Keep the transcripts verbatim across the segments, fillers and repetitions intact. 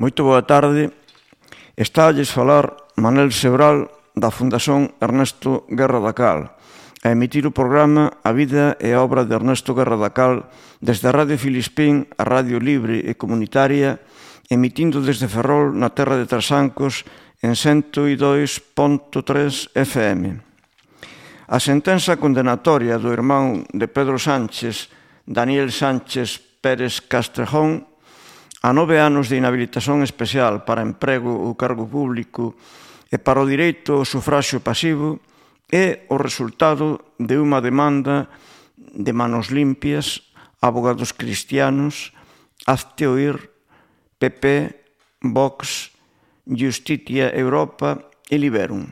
Moito boa tarde. Está a lles falar Manel Sebral da Fundación Ernesto Guerra da Cal, a emitir o programa A vida e a obra de Ernesto Guerra da Cal desde a Radio Filispín, a Radio Libre e Comunitaria, emitindo desde Ferrol, na terra de Trasancos, en cento e dois punto tres F M. A sentenza condenatoria do irmán de Pedro Sánchez, Daniel Sánchez Pérez Castrejón, a nove anos de inhabilitación especial para emprego ou cargo público e para o direito ao sufraxio pasivo é o resultado de unha demanda de manos limpias, abogados cristianos, Hazte Oír, P P, Vox, Justitia Europa e Liberum.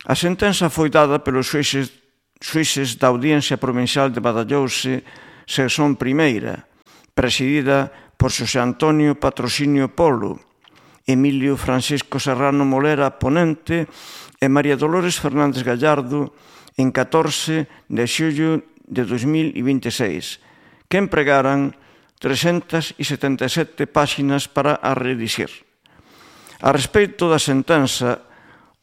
A sentenza foi dada pelos xuíces, xuíces da Audiencia Provincial de Badajoz, sección primeira, presidida por Xosé Antonio Patrocinio Polo, Emilio Francisco Serrano Molera, ponente, e María Dolores Fernández Gallardo, en catorce de xullo de dos mil veintiséis, que empregaran trescentas setenta e sete páxinas para a redixir. A respecto da sentenza,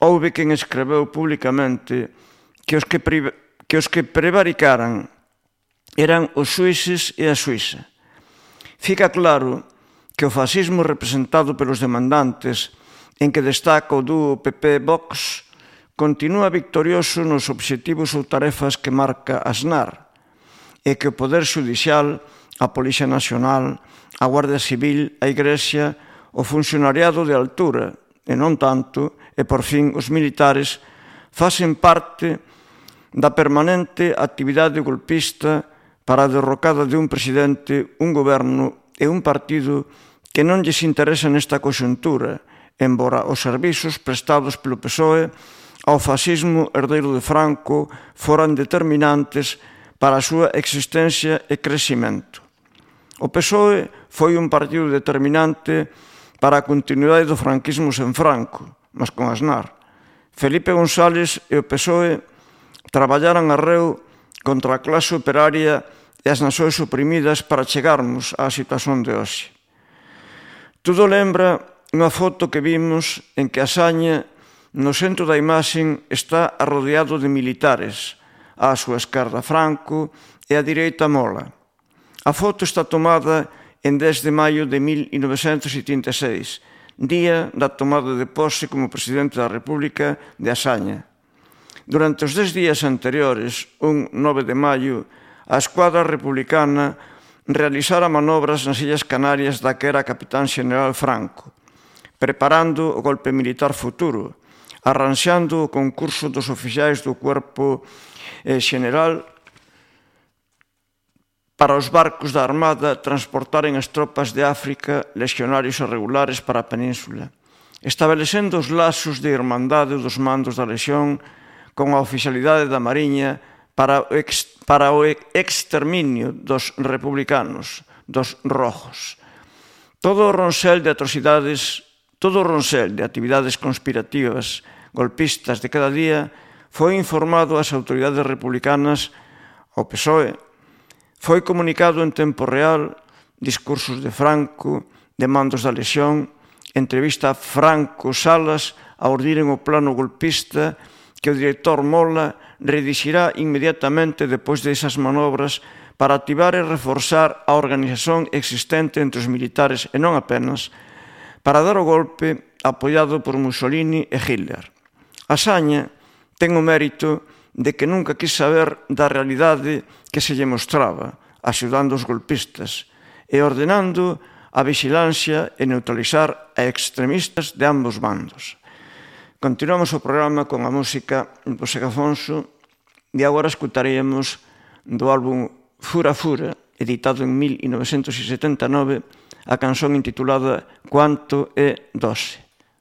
houve quen escreveu públicamente que os que, que, os que prevaricaran eran os xuíces e a xuíza. Fica claro que o fascismo representado pelos demandantes, en que destaca o dúo P P-Vox, continúa victorioso nos obxectivos ou tarefas que marca Aznar, e que o Poder Xudicial, a Policía Nacional, a Guardia Civil, a Igrexa, o funcionariado de altura, e non tanto, e por fin os militares, facen parte da permanente actividade golpista para a derrocada de un presidente, un goberno e un partido que non lles interesa nesta conxuntura, embora os servizos prestados polo P S O E ao fascismo herdeiro de Franco foran determinantes para a súa existencia e crecimento. O P S O E foi un partido determinante para a continuidade do franquismo sen Franco, mas con Aznar. Felipe González e o P S O E traballaran arreo contra a clase operaria e as nacións oprimidas para chegarmos á situación de hoxe. Todo lembra unha foto que vimos en que Asaña, no centro da imaxen, está arrodeado de militares, á súa esquerda Franco e á direita Mola. A foto está tomada en dez de maio de mil novecentos setenta e seis, día da tomada de pose como presidente da República de Asaña. Durante os dez días anteriores, un nove de maio, a escuadra republicana realizara manobras nas Illas Canarias da que era capitán xeneral Franco, preparando o golpe militar futuro, arranxando o concurso dos oficiais do cuerpo xeneral para os barcos da Armada transportaren as tropas de África, lexionarios irregulares para a península, estabelecendo os lazos de irmandade dos mandos da lexión con a oficialidade da Mariña para o, ex, para o exterminio dos republicanos, dos rojos. Todo o ronsel de atrocidades, todo o ronsel de actividades conspirativas, golpistas de cada día, foi informado ás autoridades republicanas, ao P S O E, foi comunicado en tempo real, discursos de Franco, demandos da lexión, entrevista a Franco Salas a ordiren o plano golpista que o director Mola redixirá inmediatamente depois desas manobras para activar e reforzar a organización existente entre os militares e non apenas, para dar o golpe apoiado por Mussolini e Hitler. Asaña ten o mérito de que nunca quis saber da realidade que se lle mostraba, axudando os golpistas e ordenando a vixilancia e neutralizar a extremistas de ambos bandos. Continuamos o programa con a música do José Afonso e agora escutaríamos do álbum Fura Fura, editado en mil novecentos setenta e nove, a canción intitulada Cuanto é doce.